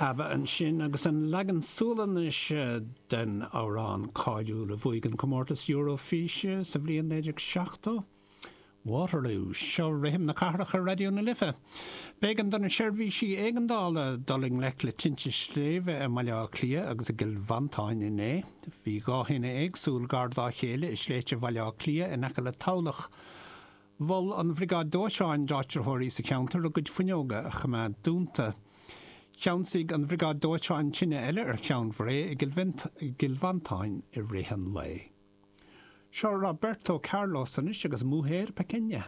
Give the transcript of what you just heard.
ABBA ansin agus an leagan Sualainnise den amhrán cáiliúil a bhuaigh an comórtas Eurofíse sa bhliain 1970, Waterloo. Seo Rithim na Cathrach ar Raidió na Life. B'éigean do na seirbhísí éigeandála dul i ngleic le tinte sléibhe i mBaile Átha Cliath agus i gCill Mhantáin inné. Bhí 2 thine éagsúil gar dá chéile i sléibhte Bhaile Átha Cliath in aice le Tamhlacht. Mhol an Bhriogáid Dóiteáin d'áitritheoirí sa cheantar a gcuid fuinneoga a choimeád dúnta. Cheansaigh an Bhriogáid Dóiteáin tine eile ar Cheann Bhré i gCill Mhantáin i rith an lae. Seo Roberto Carlos anois agus Mujer Pequeña.